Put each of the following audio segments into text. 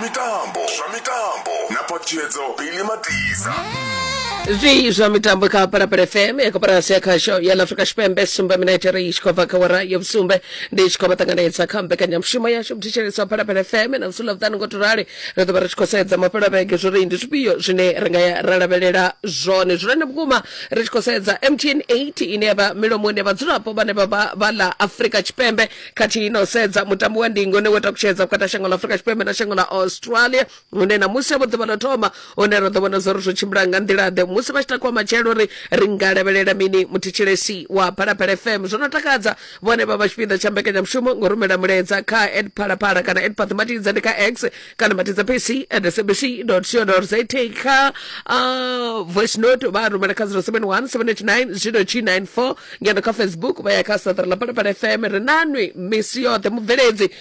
mitambo zwa mitambo na phaṱhutshedzo Billy Matisa. Zwi zwa mitambo kha Phalaphala FM ya koporasi ya khasho ya ḽa Afrika Tshipembe sumbe minete ri tshi khou bva kha wara ya vhusumbe ndi tshi khou vha ṱanganedza kha mbekanyamushumo yashu mthetshelesi wa Phalaphala FM na musi ḽavhuṱanu ngo to rali ri ḓo vha ri tshi khou sedza mafhelo a vhege zwori ndi zwifhio zwine ri nga ya ra lavhelela zwone zwone vhukuma ri tshi khou sedza MTN 8 ine ya vha milomoni ya vhadzulapo vhane vha vha vha ḽa Afrika Tshipembe khathihi na u sedza mutambo wa ndingo une wo takutshedza vhukati ha shango ḽa Afrika Tshipembe na shango ḽa Australia hune na musi vho ḓuvha ḽo thoma hune ra ḓo vhona zwori zwo tshimbila nga nḓila ḓe musi vha tshi takuwa matshelo uri ri nga lavhelela mini muthetshelesi wa Phalaphala FM zwo no takadza vhone vha vha tshipiḓa tsha mbekanyamushumo ngo rumela mulaedza kha at Phalaphala kana at Paṱimatidza ndi kha X kana matidza pc at sabc co za kha voice note vha rumela kha 071 789 0294 ngeno kha Facebook vha ya kha saṱari ḽa Phalaphala FM ri nanwi misi yoṱhe mubveledzi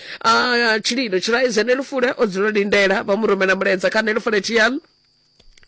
tshililo tshiraize nelufule o dzula lindela vha mu rumela mulaedza kha nelufule tl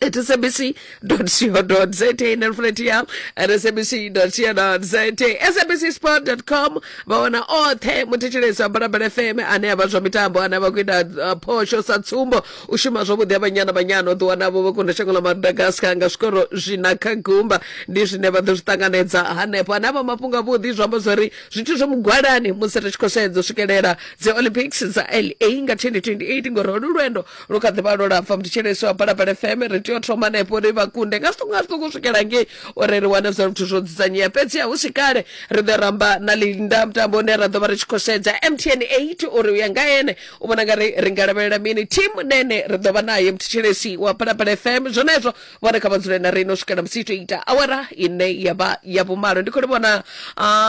at sabc.co.za nelufule tl at sabc.co.za sabcsport.com vha wana oṱhe muthetshelesi wa Phalaphala FM ane a vha zwa mitambo ane a vha khou ita phosho sa tsumbo u shuma zwavhuḓi ha Banyana Banyana u ḓiwana vho vho kunda shango ḽa Madagascar nga zwikoro zwina kha gumba ndi zwine vha ḓo zwi ṱanganedza hanefho ane a vha mafhungo avhuḓi zwi amba zwori zwithu zwo mugwalani musi ri tshi khou sedza u swikelela dzi Olympics dza LA nga 2028 ngori holu lwendo lu kha ḓivha lwo lapfa muthetshelesi wa Phalaphala FM ri tea u thoma hanefho uri vha kunde nga zwiṱuku nga zwiṱuku u swikela ngei uri ri wane zwa zwithu zwo dzudzanyea fhedzi hu si kale ri ḓo ramba na Linda mutambo une ra ḓo vha ri tshi khou sedza MTN 8 uri u ya nga ene u vhona nga ri ri nga lavhelela mini team nene ri ḓo vha naye muthetshelesi wa Phalaphala FM zwenezwo vhone kha vha dzule na riṋe u swikela musi ito ita awara ine ya vha ya vhumalo ndi khou livhona.